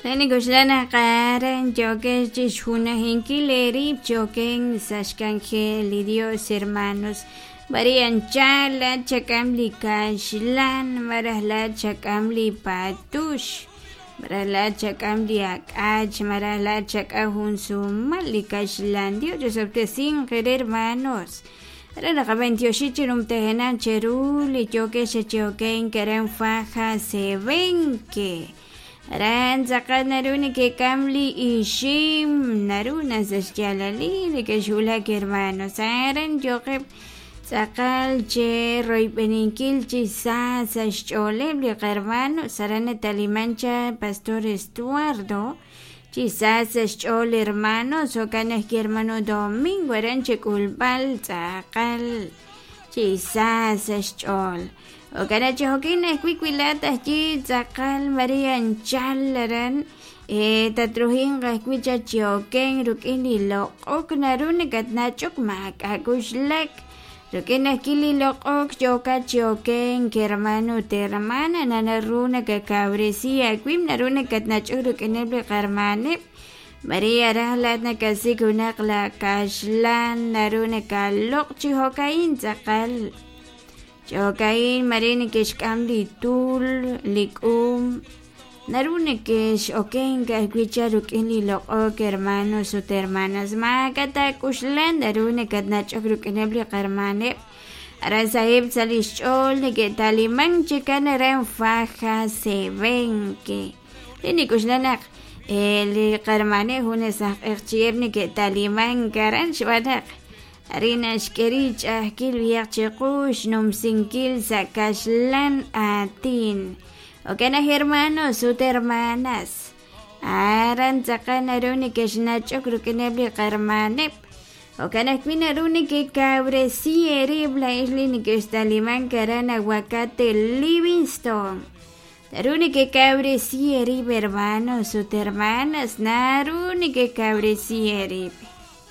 Lenik'oxla naq aran yookex chixjunajinkil eerib' choken sa' xk'anjel li Dios, hermanos. B'ari anchal laat chak'am li kaxlan, malaj laat chak'am li patux, malaj laat chak'am li ak'ach, malaj laat chak'am jun sumal li kaxlan. Dios chisob'tesinq eere, hermanos. Aran naqab'antioxi chi numtajenaq cheru li yookex chi okenk aran Faja Sebenque. Aran tz'aqal naru nekek'am li ixim, naru na sa' xyaalalil nekexwulak, hermanos. Aran yooqeb' tz'aqal che royb'eninkil chi sa sa' xch'ooleb' li qahermanos. Aran nataliman cha Pastor Estuardo chi sa sa' xch'ool, hermanos. Jo'kan ajwi' hermano Domingo aran chek'ulb'al tz'aqal chi sa sa' xch'ool. Jo'kan chi jo'kin ajwi' wi laat ajwi' tz'aqal Maria anchal aran tatruhinq ajwi' cha chi oken rik'in li loq'ok, naru nakatnach'ok maak'a' kuxlak rik'in ajwi' li loq'ok yookat chi okenk, hermano ut hermana. Naru nakakawresi aawib', naru nakatnach'ok rik'ineb' li qahermaneb'. Maria raj laat nakasik junaq la kaxlan, naru nakaloq' chi jo'ka'in tz'aqal. Jo'ka'in mare neke'xk'am li tul, li k'um, naru neke'x'okenk ajwi' cha rik'in li loq'ok, hermanos ut hermanas. Maak'a' taak'uxlan, naru nakatnach'ok rik'ineb' li qahermaneb'. Aran saheb' sa' li xch'ool neke'talimank chikan aran Faja Sebenque. Li nik'uxla naq li qahermaneb' junes aj q'eqchi'eb' neke'talimank aran xb'aan naq arin naxk'e rib' ch'a'ajkil b'ihaq chiqu xnumsinkil sa' kaxlan aatin. Jo'kan naq, hermanos ut hermanas, aran tz'aqal naru nekexnach'ok rik'ineb' li qahermaneb'. Jo'kan ajwi' naru nekekawresi eerib' laa'ex li nekextalimank aran Aguacate Livingston. Naru nekekawresi eerib', hermanos ut hermanas, naru nekekawresi eerib'.